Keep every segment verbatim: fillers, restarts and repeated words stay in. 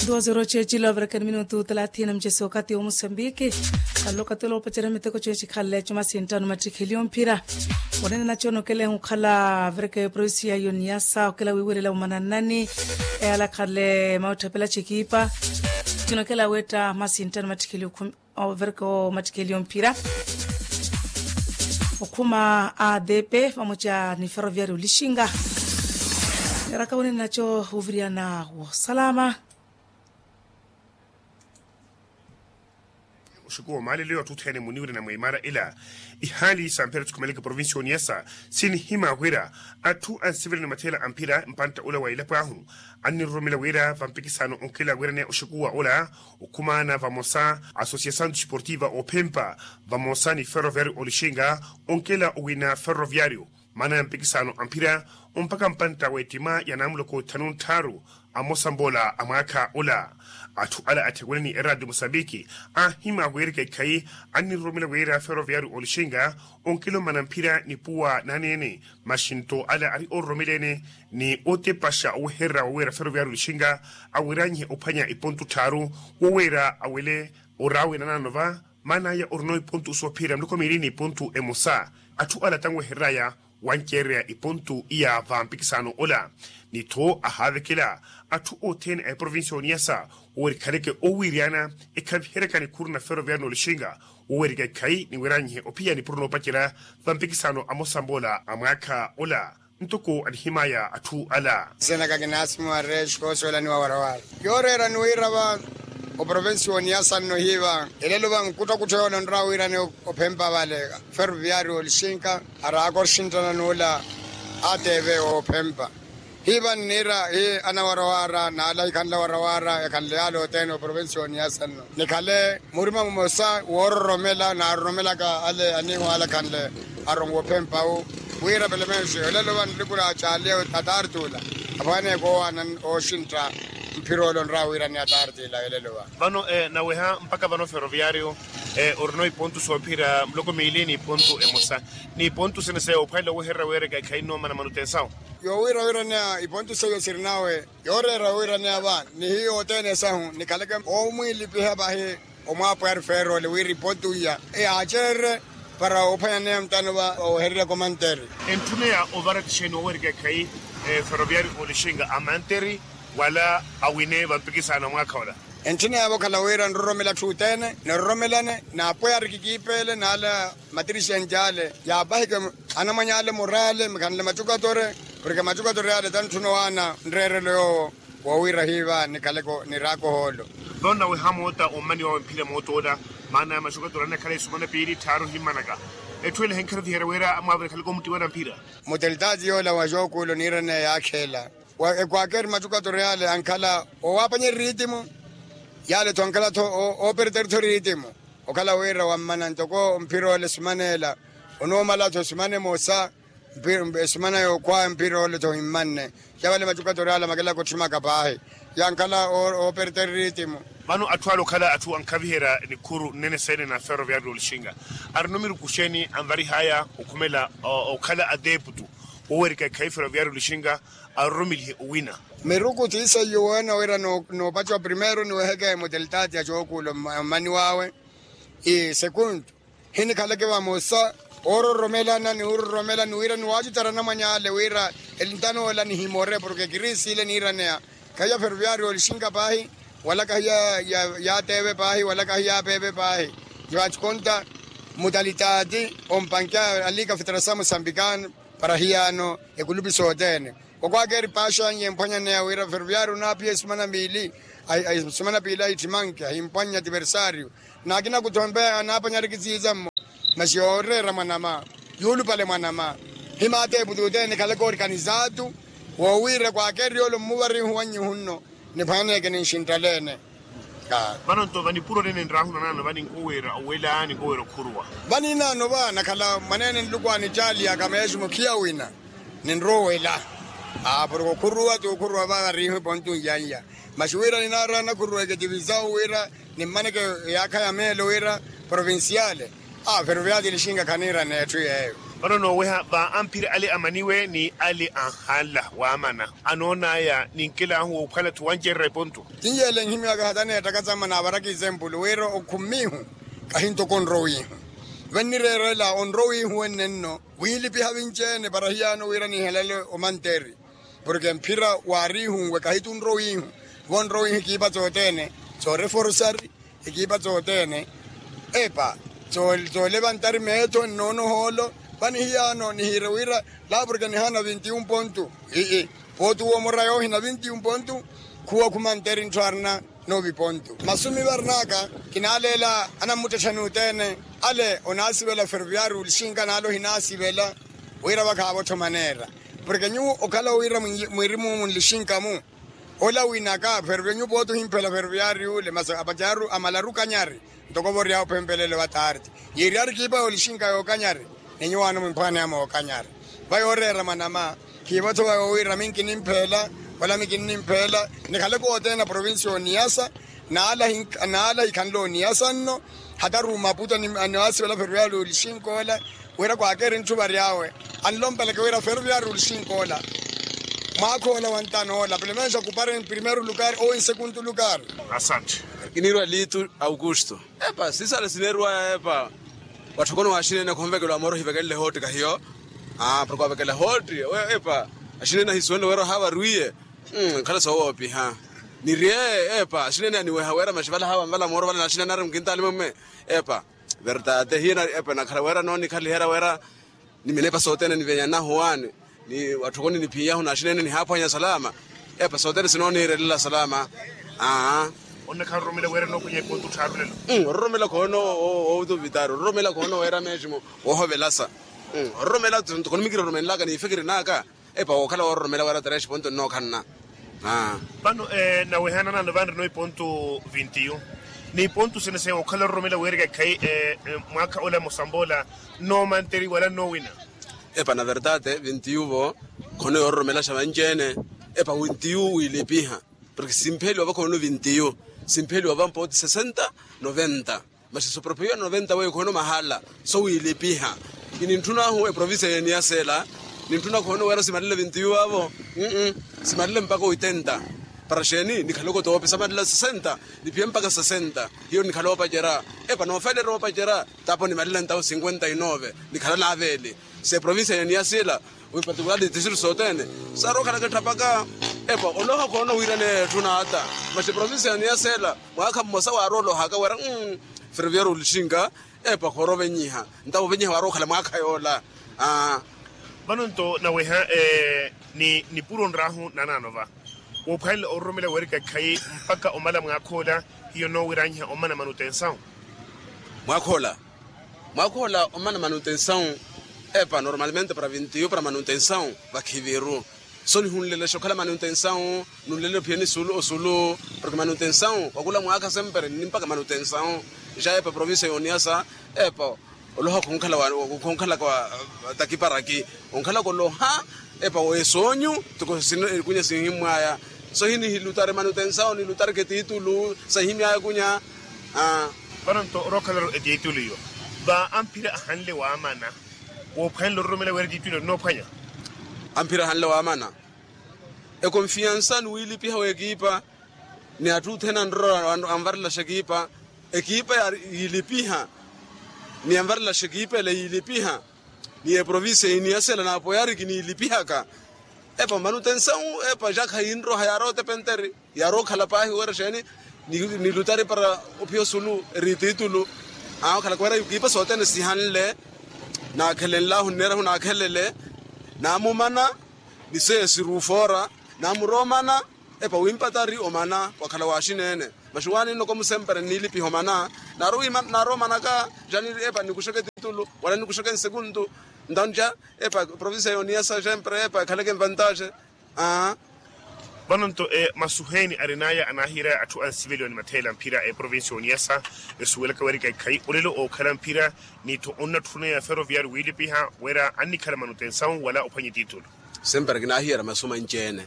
Duwa zero ceecila ovireke ni minutu talathini na mucesi okati wa musambiki. Kalokatelo opacerya miteko ceecikhale cuma sinttano mattikheli omphira. Onene naco nokelehi okhala vireke provincia yoniyasa okela wiiwerela omananani. Eyalakhale mautthapela cikipa cinokela wetta masintano mattikheli okhumi. Overeke omattikheli omphira okhuma a depe vamoca ni ferroviario lixinga. Eraka wene naco oviriyana wosalama. Oxuku wa omaalelo ya otthu othene muniwirana mwa imara ila ihaali samphira tsukumeleke provincia oniyasa sinihima wira atthu ansivirani matheela amphira mpantta ula wa ilapo ahu anniroromela wira vampikisano onkela wiraneya oxuku wa ula okhumaana vamosa asociação desportiva ophempa vamosa ni ferroviario olixinga onkela owina ferroviario. Maana ya mpikisano amphira ompaka mpantta w'ettima ya namuloko thanu ntthaaru amosa mboola a mwaakha ola. Atthu ala atthewene ni eradio mosambiki anhima wira ekeekhayi anniroromela wira ferroviario olixinga onkela omana mphira ni puwa naneene. Maxinto ala ari ororomeleene ni otepaxa owehererya wa wira ferroviario olixinga awiranyihe ophwanya ipontu tthaaru wo wira awele oraawe nanaano va. Maana aya orino ipontu soophiyerya muloko miili n'ipontu emosa. Atthu ala tanwehereraya wanceereya ipontu iya vampikisano ola ni tho ahaavekela atthu othene a eprovincia oniyasa wowerikhaleke owiiriyana ekhaviheryaka nikhuru na ferroviario n'olixinga wowerika ekhayi niwiranyihe ophiya nipuro noopacerya vampikisano amosa mboola a mwaakha ola. Ntoko anihimaya atthu ala. Senaka kinasimu areshi koosolaniwa warawara yooreera ni wira va oprovensi woniyasa nno hiiva elelo va nkuttakutto yoola onrawa wira ni ophempa vale ferroviario olixinka araaka oxinttana n'ula atv ophempa hiiva nniira hi anawarawara n'ala hikhanle awarawara ekhanle yaala othene oprovensi woniyasa nno nikhale murima mumosa woororomela naaroromelaka ale aniiho ale akhanle aronwa ophempa wu wira pelemenxi olelo va nlikula caaliya atartula aphwaneeke owaana ooxintta mphira ole onrawa wira ni atartila olelo va. Vano naweha mpaka vano ferroviario orino ipontu soophira muloko miili n'ipontu emosa n'ipontu sene seyo ophwanela owehererya weereka ekhayi nnoomana manutensawo. Yoowiira wiraneya ipontu seyo sirinawe yooreera wiraneya va ni hiyo othene esahu nikhaleke oomwiilipiha vahi omwaapwari ferole wira ipontu iya yaaceererye para ophwanyaneya mutano va owehereryaka omanteri. Entthuneya ovara tixeeni owerika ekhayi ferroviario olixinga amanteri wala awine vampikisano a mwaakha ola. Entthineya vokhala wira nroromela atthu othene niroromelane naapweya arikikiipeele n'ala matirixenti ale yaapahike anamwany'ale muraale mikhanle macukatore porke macukatore ale tantthuna owaana nreerelo yoowo woowira hiiva nikhaleko niraaka ohoolo. Vano naweha moota ommani wawe mphira moota ola maana ya macukatore anakhala isumana piili tthaaru himmanaka etthu ele henkharuviherya wira amwaavire khaleko omuttiwana mphira. Mutelitaati yoola wa xookuulo niiraneya yaakheela wa ekwakeri macukatore ale ankhala owaapanyerya eriitimu yaale-tho ankhala-tho ooperteri-tho eriitimu okhala wira wammana ntoko mphira ole esimana ela onoomala-tho esimana emosa esimana yookhwaya mphira ole-tho ohimmanne ya vale macukatore ale amakelaka otthimaka paahi yankhala ooperteri eriitimu. Vano atthu ale okhala atthu ankhaviherya nikhuru nnene seene na ferroviario olixinga arino miruku xeeni anvarihaya okhumela okhala ateeputu wowerika ekhayi ferroviario olixinga aroromelihe owina. Miruku ti seiyo weena wira noopaciwa primeiro niweheke mutelitaati ya xookuulo mmani wawe. Ii sekundu hinikhaleke vamosa oororomelana ni ororomela ni wira niwaacutara anamwany'ale wira elintano ola nihimore porke kiriisi ile niiraneya khayi ya ferroviario olixinka paahi wala kahi ya teve paahi wala kahi ya peve paahi. Niwaacukonta mutalitaati ompanke a liika federasamu sambikano para hiyaano ekulupi sothene. Okwakeri paaxanyi emphwanyaneya wira ferroviario onaapiya esimana piili aittimanke ahimpwanya ativersario n'akina kutthompeya anaaphwanya arikisiiza mmo. Masi yooreera mwanama yuulupale mwanama himaateeputi othene nikhaleke orikanizaatu woowira kwakeri yoole ommuvarihu wannyu hunno niphwaneke ninxinttaleene. Vano nto vanipuro nene nraahuna naano vaninkoweera owela ninkoweera okhuruwa. Vaninaano va nakhala mwaneene nluku anittaaliyaka meesu mukhiya wina ninroowela. Aa porke okhuruwa t'okhuruwa va variiho epontu nyanya masi wira ninaaraana khuruweke tivizawu wira nimmaneke eyaakha ya meelo wira provinciale. Aa ferroviario lixinga khaniiraneya etthu yeeyo. Vano nooweha va amphira ale amaniwe ni ale anhanla waamana anoon'aya ninkelahu woophwala-tho wancererya epontu. Tinyeele nhimyaka hata neettaka samana avaraka isempulu wira okhummihu kahi ntoko onrowihu. Vennireerela onrowihu wenne nno wiilipiha vinci-ene para hiyano wira nihelele omanteri. Porke mphira waarihunwe kahi tunrowihu vonrowihu ekiipa sothene sooreforsari ekiipa sothene epa soolevantari meetho nnoonohoolo. Vani hiyano nihiire wira laa porke nihaana vinti-un pontu. Ii pooti womora yoohina vinti-un pontu khuwa khumanteri ntthu aarina noovi pontu masumi varinaka. Kinaaleela anammuttetthani othene ale onaasivela ferviari olixinka naale ohinaasivela wira vakhaavo-tho maneera. Porke nyuwo okhala wira mwirimu-mu nlixinka-mu ola winaka ferviari nyuwo pooti ohimphela ferviari ule masi apacaru amalaru kanyari. Ntoko vory'awe ophempelelo wa tarti yiiryari kiipa yoolixinka yookanyari ni nyuwaano mwimphwaneya mookanyari. Va yooreera mwanama khiivo-tho va yoowira minkinimphela wala mikinimphela nikhaleke othene na provincia y'oniyasa. Naala hikhanle oniyasa nno hata rumaputa ni waasivela ferviari olixinka ola wira kwaakeeri ntthu vary'awe anlompeleke wira ferviari olixinka ola mwaakha ola wantano ola pelo menos okupare en primeiro lugar ou en segundo lugar. Asante. Kiniirwa litu aukusto epa sisale sineeriwaya epa watthokoni waaxinene khonvekelwa amora ohivekelele ehootti kahiyo. Porke wavekela ehootti epa axinene ahisuwenle wira ohaavariwiye. Nkhala soowoopiha nirye epa axinene aniweha wira maxi vale ahaava nvala mooro vale naxinene ari mukintali mumme epa verdade hiyo epa nakhala wira noonikhaliherya wira ni minepa sothene nivenyanahu waani ni watthokoni niphiyahu naxinene nihaaphwanya salama. Epa sothene sinooniirelela salama. Aa. Onnakhala ororomela weera nookhwenya epontu tthaaru lelo. Ororomela khoona oovitari ororomela khoona weera meeximo woohovelasa. Ororomela ntoko nimikiroromenlaka niifikiri naka epa wookhala woororomela weera tarexa epontu ennookhanna. Vano nawehananano vanrino ipontu vintiyu ni ipontu sene sene wookhala ororomela weerika ekhayi mwaakha ola mosamboola nnoomanteriwa wala nnoowina. Epa na verdade vintiyu vo khono yoororomelaxa vanci-ene. Epa vintiyu wiilipiha porke simpheliwa va khono vintiyu simpheliwa va mpooti sesenta noventa. Masi sopropiyo noventa weyo khono mahala sowiilipiha. Kinintthuna ahu eprovincia y'eniyasa ela nintthuna khono weera simalile vintiyu vavo. Simalile mpaka oitenta para xeeni nikhaleke otoopi samalila sesenta niphiye mpaka sesenta. Hiyo nikhala oopacerya epa noofeelerya oopacerya tapo nimalile ntawo cinquenta y nove nikhala naaveeli. Se provincia y'eniyasa ela wi particular district sothene sarookhalaka etthapaka. Epa oloha khoona owiirana etthu n'ata masi provincia y'eniyasa ela mwaakha mmosa waarolohaka wira ferviari olixinka epa khoorovenyiha ntawo ovenyiha waarookhala mwaakha yoola. Vano nto naweha ni nipuro nraahu nanano va woophwanela ororomela weerika ekhayi mpaka omala mwaakha ola hiyo noowiranyiha omana manutensawu. Mwaakha ola mwaakha ola omana manutensawu. Epa normalmente para vintiyu para manutensawu vakhiviru so nihunlelexa okhala manutensawu nunlelele ophiyeni sulu osulu porke manutensawu wakula mwaakha sempre nni mpaka manutensawu. Ja epa provincia y'oniyasa epa oloha khonkhala wa khonkhalaka wa takiparaki onkhalaka oloha epa wesoonyu toko sino ekunya sinhimmwaya so hini hilutari manutensawu nilutari ketitulu sahimyaya ekunya. Vano nto orookhalaro etitulu iyo va amphira ahanle waamana woophwanela ororomela weera etitulu ennoophwanya. Amphira ahanle waamana ekonfiyansa ni wiilipiha w'ekiipa ni atthu othene anrorwa anvarelaxa ekiipa ekiipa yiilipiha ni anvarelaxa ekiipa ele yiilipiha ni eprovincia y'iniyasa ela naapoyari kiniilipihaka. Epa manutensawu epa ja khayiinroha yaarootepenteri yaarookhala paahi wira xeeni nilutari para ophiya osulu eri titulu. Aakhalaka wira ekiipa sothene sihanle naakhelenlahu nneerahu naakhelele naamumana ni seiya siruufoora naamuroomana. Epa wimpatari omana wakhala waaxineene maxuwaani nnoko musempere nniilipiha omana naaromanaka ja epa nikuxeke titulu wala nikuxeke nsekuntu ntawo ja epa provincia y'oniyasa sempre epa ekhaleke nvantaxe. Vano nto masuheeni arin'aya anaahiyerya atthu ansiveliwa ni matheela mphira eprovincia y'oniyasa esuwelaka weerika ekhayi olelo ookhala mphira ni-tho onnatthuna ya ferroviari wiilipiha wira annikhala manutensawu wala ophwanya etitulu. Sempre kinaahiyerya masu manci-ene.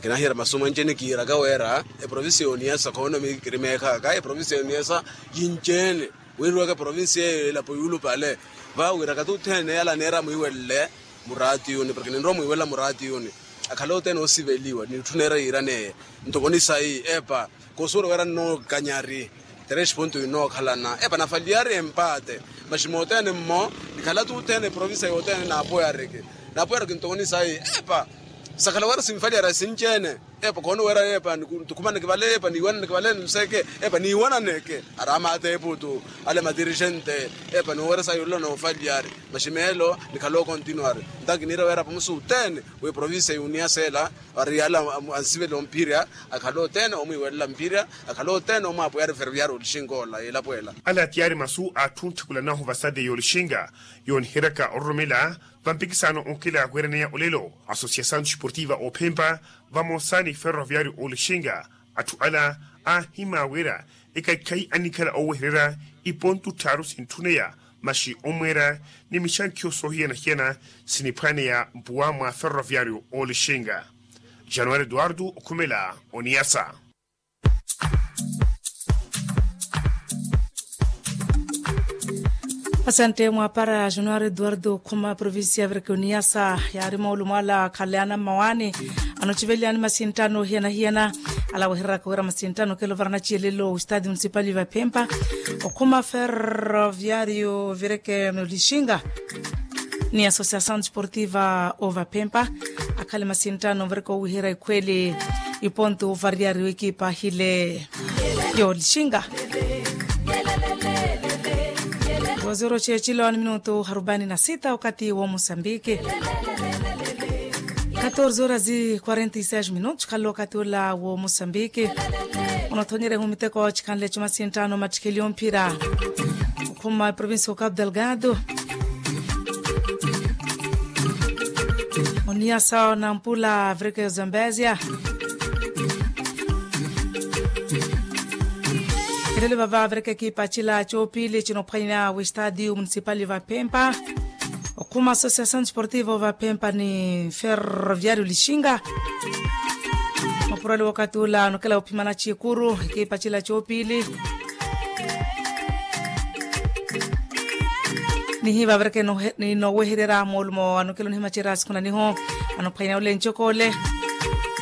Kinaahiyerya masu manci-ene kiiraka wira eprovincia y'oniyasa khono mikirimeekhaka eprovincia y'oniyasa yinci-ene. Wiiriwaka eprovincia eyo elapo yuulupale. Vawira kati othene yala aneera amwiiwelele muraatiyuni porke ninrowa omwiiwelela muraatiyuni. Akhale othene oosiveliwa n'itthu neera yiiraneye. Ntoko ni sayi epa kosuwela wira nnookanyari. Tres ponto inookhalana epa nafaliyari empaate. Maxi moothene mmo nikhala-tho othene eprovincia yothene naapoyariki. Naapoyariki ntoko ni sayi epa sakhala wira sinfaliyari asinci-ene. Epa khoona wira epa ntukhumaneke vale epa niiwananeke vale nmuseke. Epa niiwananeke ari amaatheepu tu ale madirixente. Epa ni wira sayi olola noofaliyari. Maxi meelo nikhala okontinuwari. Nto kiniira wira apamusi othene w'eprovincia y'uniyasa ela ari yala ansivela omphirya. Akhale othene omwiiwelela mphirya. Akhale othene omwaapweyari ferroviario olixinga ola elapo ela. Ala tiyari masu a atthu ontthikulan'ahu vasade y'olixinga yooniheryaka ororomela vampikisaano onkela wiraneya olelo asosiasaano esportiva oophempa vamosa ni ferroviario olixinga. Atthu ala aahimya wira ekaikhayi anikhala oowehererya iponto tthaaru sintthuneya maxi omweera ni mixankhiyo soohiyana-hiyana siniphwaaneya mpuwa mwa ferroviario olixinga. Januwari eduwardo okhumela oniyasa. Asante mwaapara januwari eduwardo okhuma provincia virke oniyasa yaari moolumo ala akhaleana mmawaani. Anochivelyaani masinttano ohiyana-hiyana ala wehereraka wira masinttano okela ovara nachiyelelo westadio municipal vaphempa. Okhuma ferroviario virke olixinga ni asosiasaano desportiva ovaphempa akhale masinttano virke owiherya ikhweli iponto ovariyari w'ekipa hile y'olixinga. Waziri ocheechilo ni minutu arubani na sita wakati w'omusambiki. Katorze horas e quarenta e seis minutos khale wakati ula w'omusambiki. Onothonyerya ehu miteko chikhanle chumasinttano mattikheli omphira. Okhuma eprovincia o cabo delgado. Oniyasa nampula virke zambezia. Elelo vava virke ekipa chila chopili chinophwanya westadio municipal vaphempa. Okhuma asosiasaano desportivo vaphempa ni ferroviario lixinga. Mapurali wakati ula anokela ophimana chikuru ekipa chila chopili. Nihiva virke ninowehererya moolumo anokela onihimacerya sikhuna niho anophwanya ule ncokole.